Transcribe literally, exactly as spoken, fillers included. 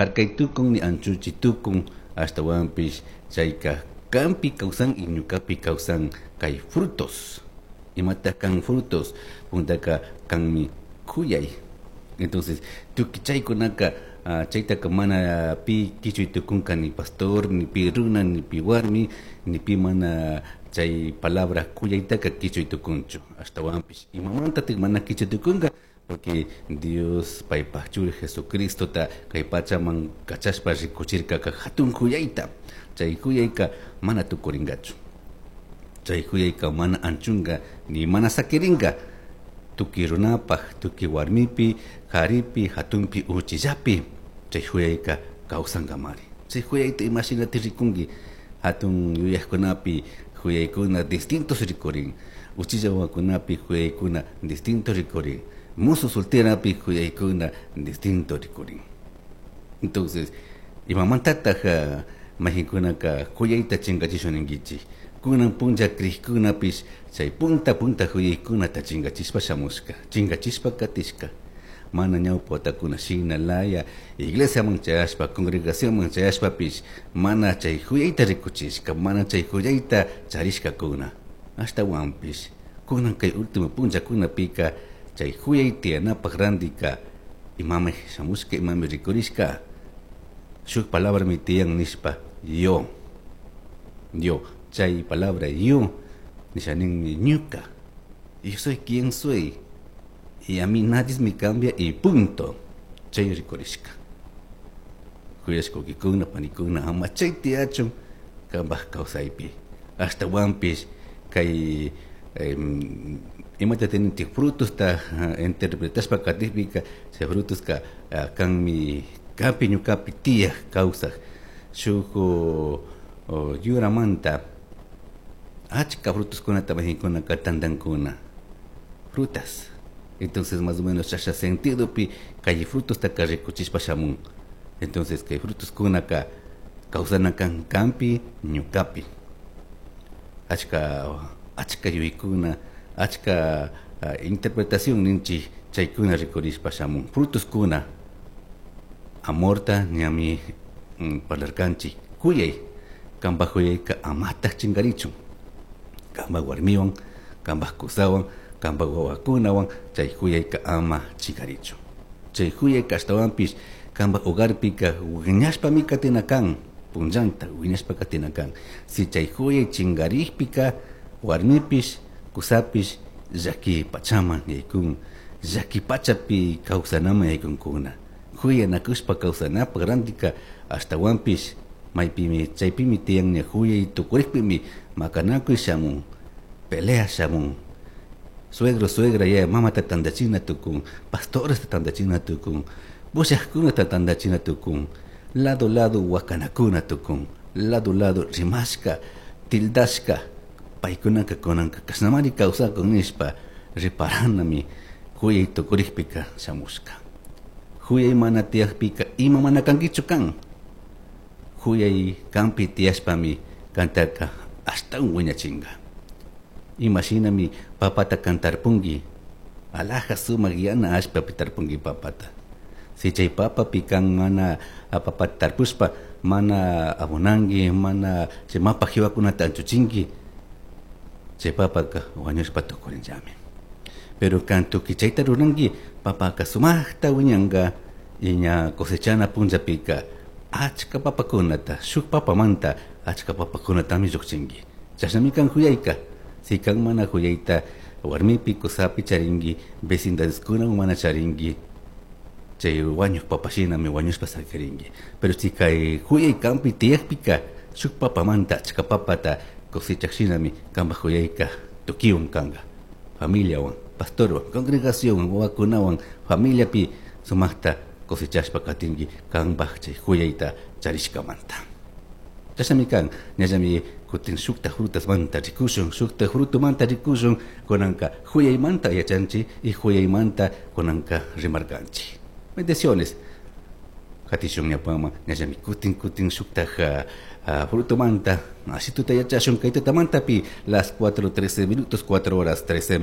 Harkay tukun ni anchuchi tukun, ashtawanpish chayka kanpi kawsan y ñukapi kawsan kay frutos. Imata kan frutos? Puntaka kanmi kuyay. Entonces, tukuy chaykunaka uh, chaytaka mana pi kichuy tukunka, ni pastor, ni pi runa, ni pi warmi, ni pi mana chay palabra kuyaytaka kichuy tukunchu. Ashtawanpish imamantatik mana kichuy tukunka? Porque Dios paypaj churi Jesucristota kay pachaman kachashpa rikuchirkaka hatun kuyayta. Chay kuyayka mana tukuringachu. Chay kuyayka mana anchunga ni mana sakiringa. Tukuy runapaj, tukuy warmipi, karipi, hatunpi, uchillapi chay kuyayka kawsankamari. Chay kuyayta imashinati rikunki? Hatun yuyajkunapi kuyaykuna distintos rikurin. Uchilla wawakunapi kuyaykuna distinto rikurin. Musu solterapi kuyaykuna distinto rikurin. Entonces, imamantataj mayqinkunaka kuyayta chinkachishun ninkichik? Kunan punlla crijkunapish chay punta punta kuyaykunata chinkachishpa shamushka, chinkachishpa katishka. Mana ñawpa watakuna shina laya iglesiaman chayashpa, congregacionman chayashpapish mana chay kuyayta rikuchishka, mana chay kuyayta charishkakuna. Ashtawanpish kunan kay último punllakunapika chay kuyay tiyanapaj randika imami shamushka, imami rikurishka, shuk palabrami tiyan nishpa yo. Yo, chay palabra yo nisha ninmi ñuka. Yo soy quien soy y a mí nadie me cambia y punto. Chay rikurishka. Kuyashka wawkikuna, panikuna, ama chay tiyachun kambaj kawsaypi. Ashtawanpish kay imata teninchik frutosta interpretashpa katikpika, chay frutoska kanmi kanpi ñukapi tiyaj kawsaj shuk yuramanta achka frutoskunata mayqinkunaka tantankuna, frutas. Entonces, más o menos chasha sentidopi kay frutostaka rikuchishpa shamun. Entonces, kay frutoskunaka kawsana kan kanpi ñukapi. Achka achka yuyaykuna, achka interpretación ninchik chaykuna rikurishpa shamun. Frutoskuna amorta ñami parlarkanchik. Kuyay, kanpaj kuyayka amataj chinkarichun. Kanpaj warmiwan, kanpaj kusawan, kanpaj wawakunawan chay kuyayka ama chinkarichun. Chay kuyayka ashtawanpish kanpaj hogarpika wiñashpami katina kan, punllanta wiñashpa katina kan. Si chay kuyay chinkarikpika warmipish, kusapish llaki pachaman yaykun, llaki pachapi kawsanaman yaykunkuna. Kuyanakushpa kawsanapak randika ashtawanpish maypimi chaypimi tiyan ña kuyay tukurikpimi makanakuy shamun, pelea shamun. Suegro, suegra yaya mamata tantachina tukun, pastoresta tantachina tukun, pushajkunata tantachina tukun, lado lado wakanakuna tukun, lado lado rimashka, tildashka, paykunaka kunanka kashnamari kawsakun nishpa riparanami kuyay tukurikpika shamushka. Kuyay mana tiyakpika ima mana kankichu kan. Kuyay kanpi tiyashpami kantaka ashtawan wiñachinka. Imashinami papata kan tarpunki, alaja sumak yana allpapi tarpunki papata. Si chay papapi kan mana papata tarpushpa mana abonanki, mana chay mapa jiwakunata anchuchinki, chay papaka wañushpa tukurinllami. Pero kan tukuy chayta ruranki, papaka sumakta wiñanka y ña cosechana punllapika achka papakunata, shuk papamanta achka papakunatami llukchinki. Chashnami kan kuyayka. Si kan mana kuyayta warmipi kusapi charinki, vecindadeskunawan mana charinki, chay wañuk papashinami wañushpa sakirinki. Pero si kay kuyay kanpi tiyakpika shuk papamanta achka papata cosechak shinami kanpaj kuyayka tukiwan kanka, familiawan, pastorwan, congregacionwan, wawakunawan, familiapi sumakta cosechashpa katinki kanpaj chay kuyayta charishkamanta. Chashnami kan, ñallami kutin shukta frutasmanta rikushun, shukta frutumanta rikushun, kunanka kuyaymanta yachanchik y kuyaymanta kunanka rimarkanchik. Bendiciones. Katishun ñapama, ñallami kutin kutin shukta frutumanta, así tuta yachashun kay tutamantapi, las cuatro trece minutos, cuatro horas trece.